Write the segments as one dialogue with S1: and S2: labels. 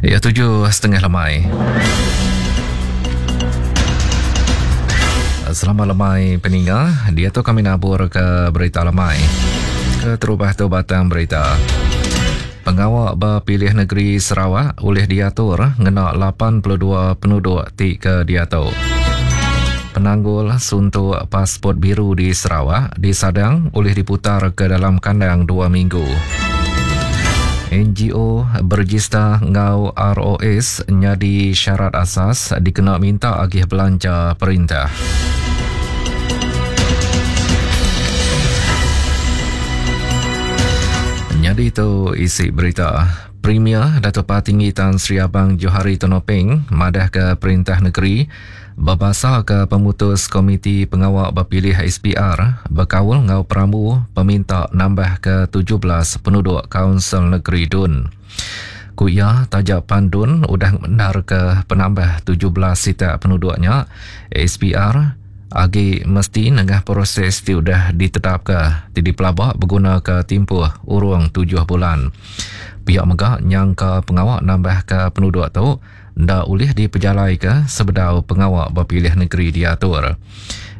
S1: Ya 7.30 lemai. Selamat lemai peninga. Dia tu kami nabur ke berita lemai. Keterubah tu batang berita. Pengawa bepilih negeri Sarawak ulih diatur ngena 82 penuduk ti ke diatu. Penanggul suntuk pasport biru di Sarawak disadang ulih diputar ke dalam kandang dua minggu. NGO berejista enggau ROS nyadi syarat asas dikena minta agih belanja perintah. Nyadi tu isi berita. Premier Datuk Patinggi Tan Sri Abang Johari Tun Openg madahka perintah negeri Bebasaka pemutus Komiti Pengawa Bepilih SPR bekaul enggau perambu peminta nambahka 17 penuduk Kaunsil Negeri Dun. Ku iya, taja pan Dun udah ngemendarka penambah 17 sitak penuduk nya, SPR agi mesti nengah proses ti udah ditetapka ti dipelaba begunaka timpuh urung tujuh bulan. Pia mega nyangka pengawa nambahka penuduk tu enda ulih dipejalaika sebedau pengawa bepilih negeri diatur.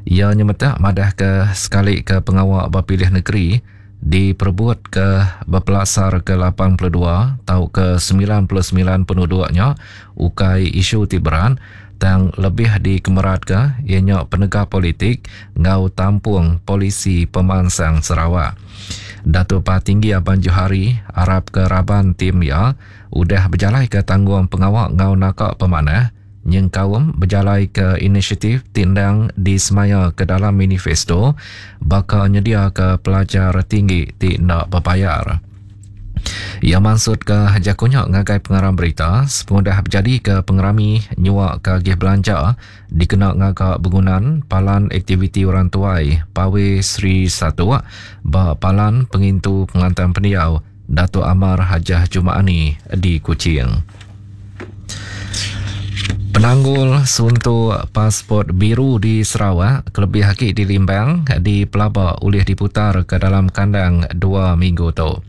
S1: Iya nyemetak madahka sekalika pengawa bepilih negeri diperebutka bepelasarka 82 tauka 99 penuduk nya ukai isu ti berat tang lebih dikemeratka iya nya penegap politik enggau tampung polisi pemansang Sarawak. Datuk Patinggi Abang Johari arapka raban tim iya udah bejalaika tanggung pengawa enggau naka pemanah nyengkaum bejalaika inisiatif ti endang disemaya ke dalam manifesto baka nyediaka pelajar tinggi ti enda bebayar. Iya mansutka jaku nya ngagai pengarang berita sepengudah bejadika pengerami nyuaka agih belanja dikena ngaga begunan Palan Aktiviti Orang Tuai Pawe Sri Satok ba Palan Pengintu Pengelantang Pendiau Datuk Amar Hajah Juma'ani di Kuching. Penanggul suntuk pasport biru di Sarawak kelebih agi di Limbang dipelaba ulih diputar ke dalam kandang dua minggu tu.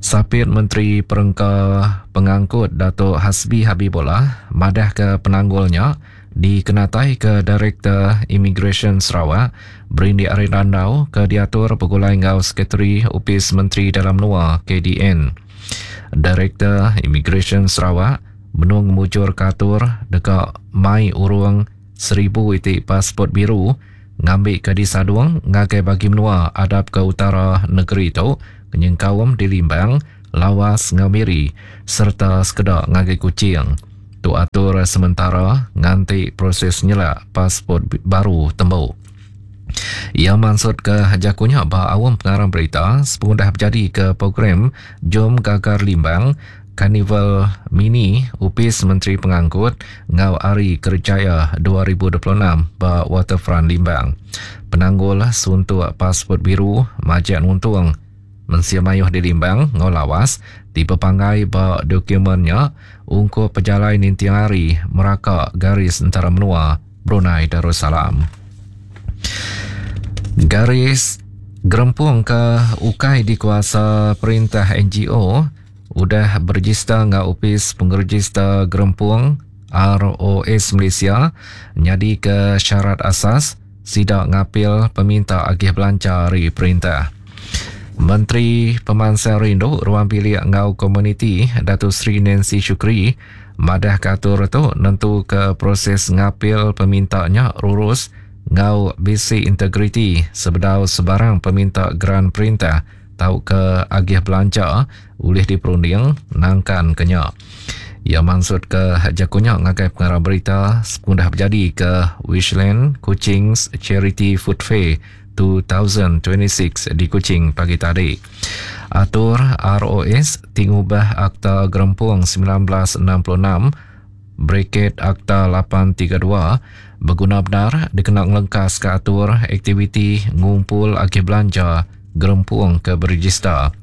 S1: Sapit Menteri Perengka Pengangkut Datuk Hasbi Habibollah madahka penanggul nya Dikenataika Direktor Imigresen Sarawak, berindik ari randau ke diatur begulai enggau Sekretari Opis Menteri Dalam Menua, KDN. Direktor Imigresen Sarawak benung ngemujurka atur deka mai urung seribu iti pasport biru ngambika disadung ngagai bagi menua adap ke utara negeri tu nyengkaum di Limbang, Lawas enggau Miri sereta sekeda ngagai Kuching. Tu atur sementara nganti proses nyelak pasport baru tembu. Iya mansutka jaku nya ba aum pengarang berita sepengudah bejadika program Jom Gagar Limbang Karnival Mini Opis Menteri Pengangkut enggau Hari Kerjaya 2026 ba Waterfront Limbang. Penanggul suntuk pasport biru majak nuntung Mensia mayuh di Limbang enggau Lawas ti bepanggai ba dokumen nya ungkup pejalai ninting hari meraka garis entara menua Brunei Darussalam. Garis gerempung ke ukai dikuasa perintah NGO udah berejista enggau Opis Pengerejista Gerempung ROS Malaysia nyadika syarat asas Sida ngapil peminta agih belanja ari perintah. Menteri Pemansang Rindu, Ruang Bilik enggau Komuniti Dato Sri Nancy Shukri madahka atur tu nentuka proses ngapil peminta nya rurus enggau bisi integriti sebedau sebarang peminta geran perintah tauka agih belanja ulih diperunding nangkan ke nya. Iya mansutka jaku nya ngagai pengarang berita sepengudah bejadi ke Wishland Kuching's Charity Food Fair 2026 di Kuching pagi tadi. Atur ROS ti ngubah Akta Gerempung 1966 Bracket Akta 832 beguna bendar dikena ngelengkaska atur aktiviti ngumpul agih belanja gerempung ke berejista.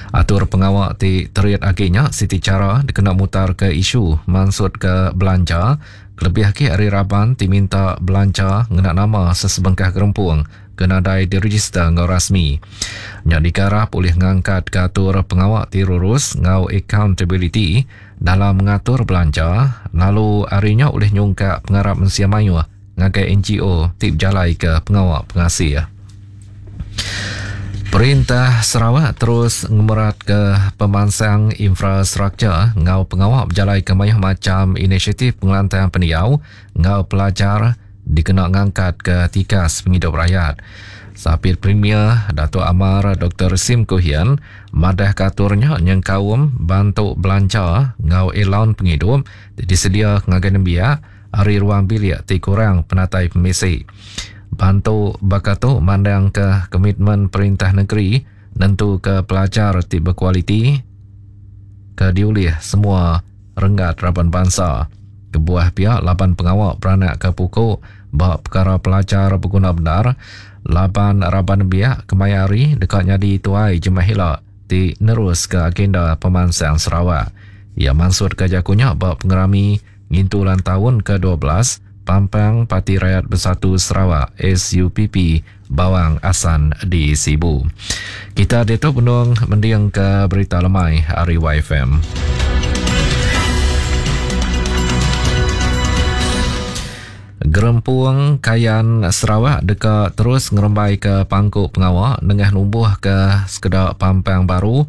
S1: Atur pengawa ti terit agi nya siti chara dikena mutarka isu mansutka belanja kelebih agi ari raban ti minta belanja ngena nama sesebengkah gerempung. ke nadai direjister enggau rasmi. Nya dikarap ulih ngangkatka atur pengawa ti rurus enggau akauntabiliti dalam ngatur belanja lalu ari nya ulih nyungkak pengarap mensia mayuh ngagai NGO ti bejalaika pengawa pengasih. Perintah Sarawak terus ngemeratka pemansang infrastruktur enggau pengawa bejalaika mayuh macham inisiatif pengelantang pendiau enggau pelajar dikena ngangkatka tikas pengidup rayat. Sapit Premier Datuk Amar Doktor Sim Kui Hian madahka atur nya nyengkaum bantu belanja enggau elaun pengidup ti disedia ngagai nembiak ari ruang bilik ti kurang penatai pemisi. Bantu baka tu mandangka komitmen perintah negeri nentuka pelajar ti bekualiti ke diulih semua renggat raban bansa. Kebuah pia laban pengawa beranakka puku ba pekara pelajar beguna bendar laban raban nembiak kemaya hari deka nyadi tuai jemah ila ti neruska agenda pemansang Sarawak. Iya mansutka jaku nya ba pengerami ngintu ulang taun ke 12 Pampang Parti Rakyat Bersatu Sarawak, SUPP, Bawang Assan di Sibu. Kita diatu benung mendingka berita lemai ari YFM. Gerempung Kayan Sarawak deka terus ngerembaika pangku pengawa nengah numbuhka sekeda pampang baru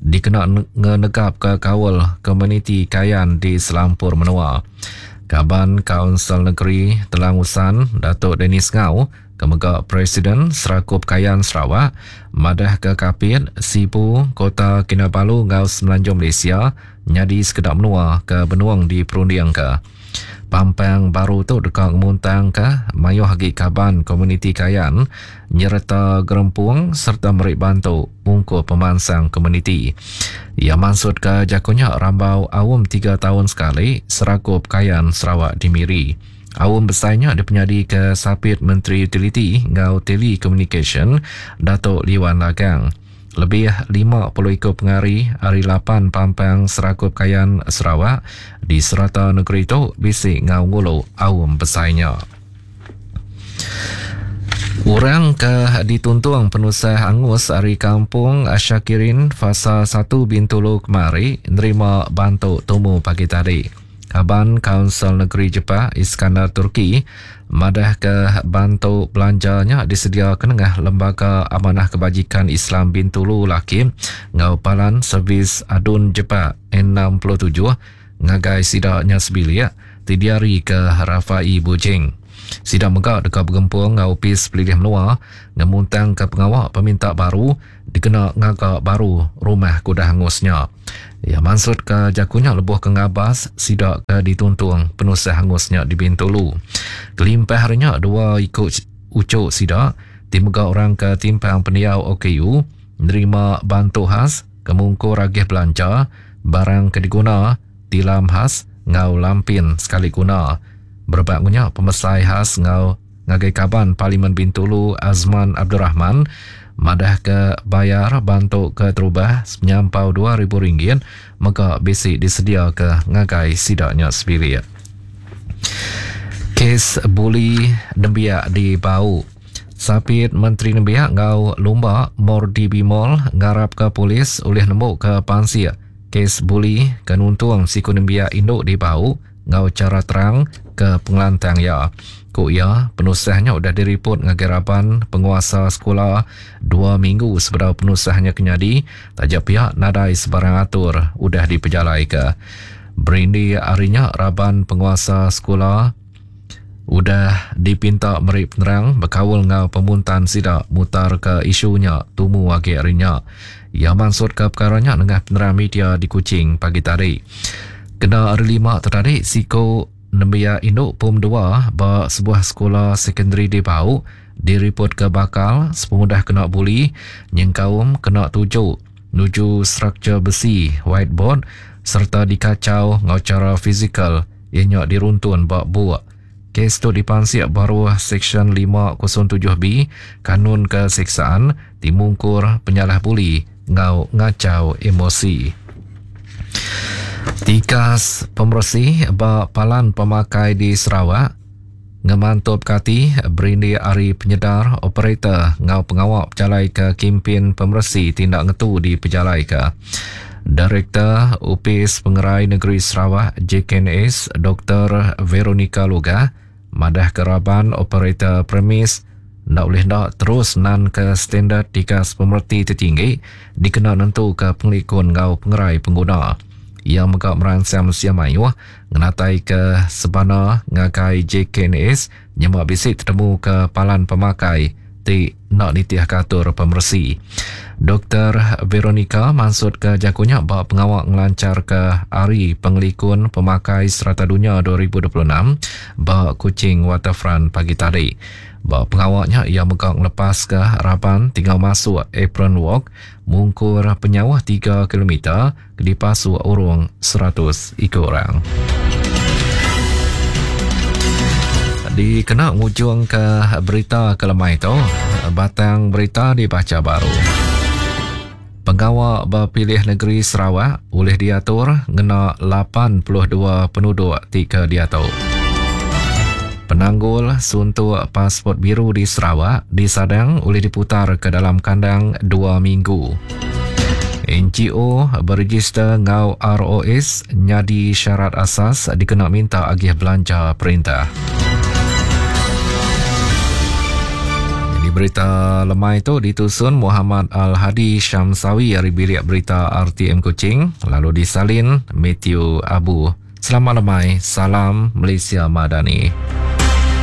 S1: dikena ngenegapka kaul komuniti Kayan di selampur menua. Kaban Kaunsil Negeri Telang Usan, Datuk Dennis Ngau, ke mega Presiden Serakup Kayan Sarawak, madahka Kapit, Sibu, Kota Kinabalu enggau Semenanjung Malaysia nyadi sekeda menua ke benung diperundingka. Pampang baru tu deka ngemuntangka mayuh agi kaban komuniti Kayan nyereta gerempung sereta meri bantu ungkup pemansang komuniti. Iya mansutka jaku nya rambau aum tiga taun sekali Serakup Kayan Sarawak di Miri. Aum besai nya dipenyadika Sapit Menteri Utiliti enggau Telekomunikasyen Datuk Liwan Lagang. Lebih 50 iku pengari ari lapan pampang Serakup Kayan Sarawak di serata negeri tu bisi enggau ngulu aum besai nya. Orang ke dituntung penusah angus ari Kampung Ashakirin Fasa 1 Bintulu kemari nerima bantu tumu pagi tadi. Kaban Kaunsil Negeri Jepak Iskandar Turki madahka bantu belanja nya disediaka nengah Lembaga Amanah Kebajikan Islam Bintulu Lakim enggau Palan Servis Adun Jepak 67 ngagai sida nya sebilik ti diarika Rafai Bujing. Sida mega deka begempung enggau Opis Pelilih Menua ngemuntangka pengawa peminta baru dikena ngaga baru rumah ke udah angus nya. Iya mansutka jaku nya lebuh ke ngabas sida ke dituntung penusah angus nya di Bintulu. Kelimpah ari nya, dua iku uchu sida ti mega orang ke timpang pendiau OKU nerima bantu khas ke mungkur agih belanja, barang ke diguna, tilam khas enggau lampin sekali guna. Berebak enggau nya, pemesai khas enggau Ngagai Kaban Parlimen Bintulu Azman Abdul Rahman madahka bayar bantu keterubah sepenyampau RM2,000 mega bisi disediaka ngagai sida nya sebilik. Kes buli nembiak di Bau. Sapit Menteri Nembiak enggau Lumba Mordi Bimol ngarapka polis ulih nembuka pansik kes buli ke nuntung siku nembiak indu di Bau enggau chara terang ke pengelantang iya. Ku iya, penusah nya udah diripot ngagai raban penguasa sekula dua minggu sebedau penusah nya ke nyadi taja pia nadai sebarang atur udah dipejalaika. Berindi ari nya raban penguasa sekula udah dipinta meri penerang bekaul enggau pemuntan sida mutarka isu nya tumu agi ari nya. Iya mansutka pekara nya nengah penerang media di Kuching pagi tadi. Kena Hari Lima tu tadi, siku nembiak indu Pom dua ba sebuah sekula sekondari di Bau diripotka bakal sepengudah kena buli nyengkaum kena tuju nuju struktur besi whiteboard sereta dikachau enggau chara fizikal iya nya diruntun ba buk. Kes tu dipansik baruh Seksyen 507B Kanun Keseksaan ti mungkur penyalah buli enggau ngachau emosi. Tikas pemeresi ba palan pemakai di Sarawak. Ngemantupka ati berindik ari penyedar operator enggau pengawa bejalaika kimpin pemeresi ti enda ngetu dipejalaika. Direktor Opis Pengerai Negeri Sarawak JKNS Doktor Veronica Lugah madahka raban operator premis enda ulih enda terus nanka standard tikas pemereti ti tinggi dikena nentuka pengelikun enggau pengerai pengguna. Iya mega meransang mensia mayuh ngenataika sebana ngagai JKNS nyema bisi tetemuka palan pemakai ti enda nitihka atur pemeresi. Doktor Veronica mansutka jaku nya ba pengawa ngelancharka Hari Pengelikun Pemakai Serata Dunya 2026 ba Kuching Waterfront pagi tadi. Ba pengawa nya iya mega ngelepaska raban ti enggau masuk Apron Walk mungkur penyauh tiga kilometer ke dipasuk urung 100 iku orang. Dikena ngujungka berita ke lemai tu, batang berita dibacha baru. Pengawa bepilih negeri Sarawak ulih diatur ngena 82 penuduk ti ke diatu. Penanggul suntuk pasport biru di Sarawak disadang ulih diputar ke dalam kandang dua minggu. NGO berejister enggau ROS nyadi syarat asas dikena minta agih belanja perintah. Jadi berita lemai tu ditusun Muhammad Al-Hadi Syamsawi ari bilik berita RTM Kuching lalu disalin Matthew Abu. Selamat lemai, salam Malaysia Madani.